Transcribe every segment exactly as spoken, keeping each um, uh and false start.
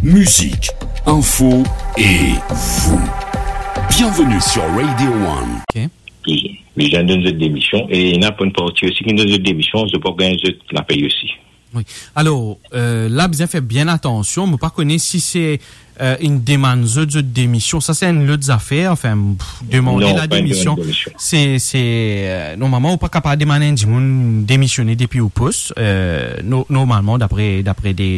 Musique, info et vous. Bienvenue sur Radio One. Ok. Li, li zot donn zot demision, e ena pou enn parti osi ki donn zot demision, zot pa gagn zot lapey osi. Wi. Alor, euh, la, bizin fer bien atansion. Mo pa kone si se, euh, inn demann zot, zot demision. Sa, se enn lot zafer. Anfin, pff, demande la demision. Non, pa enn demann demision. Se, se, euh, normalman, ou pa kapav demann enn dimoun demisione depi ou pos. Euh, no-, normalman, dapre, dapre de,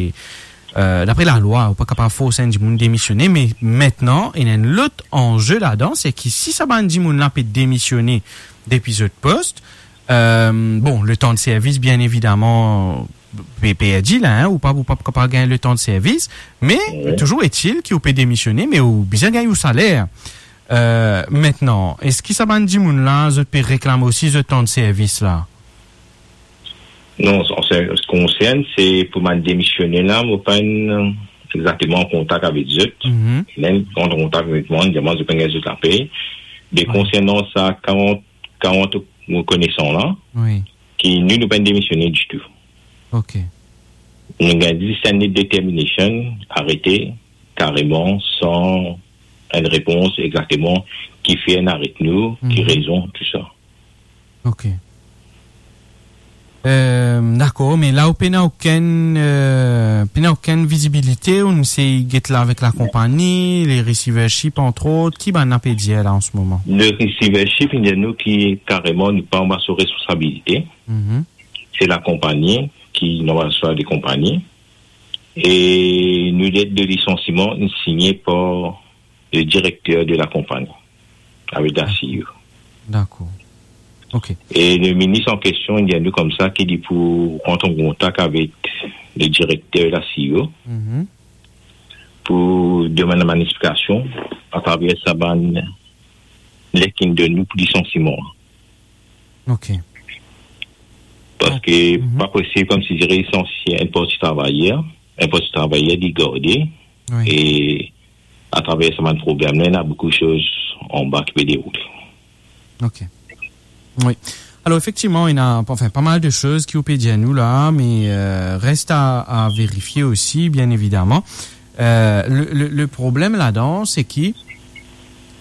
euh, dapre lalwa, ou pa kapav fors enn dimoun demisione. Me mintnan, ena enn lot anze ladan, se ki si sa bann dimoun la pe demisione depi zot pos, euh, bon, letan de servis, bien evidaman, pe perdi la, hein, ou pa, ou pa, pa gagn letan de servis, me, wi, touzour etil ki ou pe demisione, me ou bizin gagn ou saler. Euh, mintnan, eski sa bann dimoun la, zot pe reklam osi zot tan de servis la? Non, an se ki konsern, se pou bann demisione la, mo pa enn exakteman an kontak avek zot. Mhm. Ena enn kontak avek mwa, demann zot pou gagn zot lapey. Me, wi, konsernan sa karant, karant rekonesan la, wi, ki nou, nou pa demisioné ditou. Ok. Nou gagn zis enn let determination, arete, kareman, san enn repons exakteman ki fer enn aret nou, ki, mhm, rezon, tou sa. Ok. Euh, dakor, me la ou pena okenn, euh, pena okenn vizibilite, ou inn sey get la avek lakonpani, le receivership, entre autres, ki bann la pe dir la an se moman? Le receivership, inn dir nou ki kareman nou pa anba so responsabilite. Mhm. Se lakonpani ki, normalman, se lakonpani. E nou let de lisansiman, inn signe par le direkter de lakonpani, avek la CEO. Dakor. Ok. E le minis an kestion, inn dir nou koumsa ki li pou rant an kontak avek le direkter, la CEO, mhm, pou demann bann explikasion atraver sa bann let ki inn donn nou pou lisansiman. Ok. Parski, mhm, pa posib koumsi dir lisansie enn parti travayer, enn parti travayer li garde, wi, e atraver sa bann problem la, ena boukou soz anba ki pe deroule. Ok. Wi. Alor, efektivman, ena, anfin, pa mal de soz ki ou pe dir nou la, me, euh, res a, a verifie osi, bien evidaman. Euh, le, le, le problem ladan, se ki,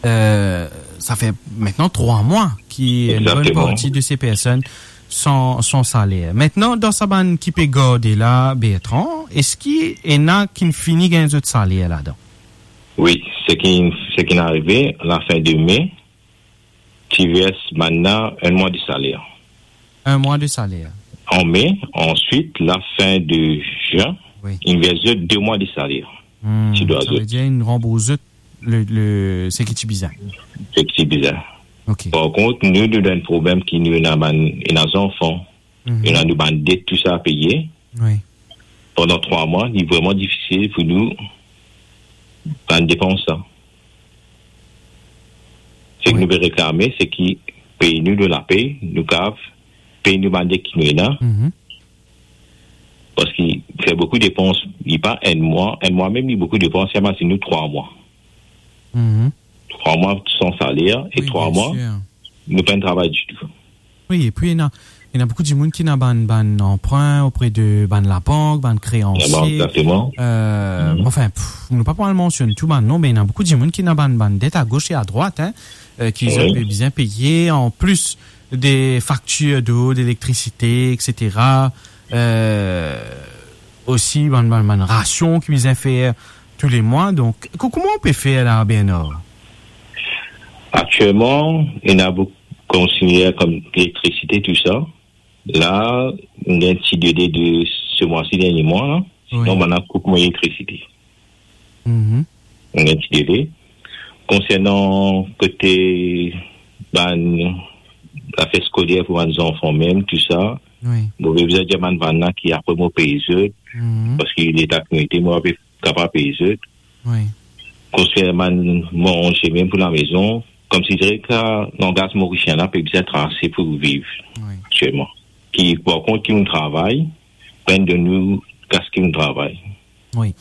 euh, sa fer mintnan trwa mwa ki enn bonn, egzakteman, parti de se personn san, san saler. Mintnan, dan sa bann ki pe garde la, Bertrand, eski ena ki'nn fini gagn zot saler ladan? Wi, seki, seki inn arive, lafin de me, ti vers bann la enn mwa de saler. Enn mwa de saler. An me, answit, lafin de zin, wi, inn vers zot de mwa de saler. Hmm, ti dwa zot. Savedir inn ranbours zot le, le, seki ti bizin. Seki ti bizin. Ok. Par kont, nou, nou dan enn problem ki nou ena bann, ena zanfan, mhm, ena nou bann det, tou sa a peye. Wi. Pandan trwa mwa, li vreman difisil pou nou bann depans sa. Seki, wi, nou pe reklame, seki pey nou, nou lapey, nou kav pey nou bann det ki nou ena. Mhm. Parski fer boukou depans, li pa enn mwa, enn mwa mem, li boukou depans, imazinn nou trwa mwa. Mhm. Trwa mwa san saler e, wi, trwa mwa, bien sir, nou pa'nn travay ditou. Wi, epi ena, ena boukou dimoun ki ena bann, bann anprin opre de bann labank, bann kreansie. Labank, egzakteman. Euh, mhm, anfin, pff, nou pa pou al mansionn tou bann non, me ena boukou dimoun ki ena bann, bann det a gos e a drwat, hein, euh, ki, wi, zot pe bizin peye, an plis de faktir dlo, delektricite, et cetera. Euh, osi bann, bann, bann rasion ki bizin fer tou le mwa. Donk, ko-, kouma ou pe fer la, Bernard? Aktielman, ena boukou konsigner kouma elektrisite, tou sa. La, nou gagn ti dele de se mwa si, dernie mwa la. Wi. Sinon, bann la koup mwa elektrisite. Mhm. Nou gagn ti dele. Konsernan kote bann zafer skoler pou bann zanfan mem, tou sa, wi, mo pe bizin dir bann, bann la ki apre mo pey zot, mhm, parski leta ki mo ete, mo pa pe kapav pey zot. Wi. Konsernan manze mem pou lamezon, koumsi dir ki langaz morisien la pe bizin trase pou viv, wi, aktielman. Ki, par kont, ki nou travay, pa'nn donn nou kas ki nou travay. Wi.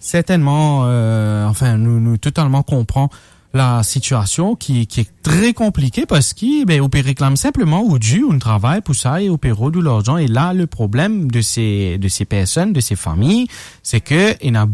Sertennman, euh, anfin, nou, nou totalman konpran lasitiasion ki, ki tre konplike parski, be, ou pe reklam sinpleman ou dir, ou travay pou sa e ou pe rod ou larzan. E la, le problem de se, de se personn, de se fami, se ke ena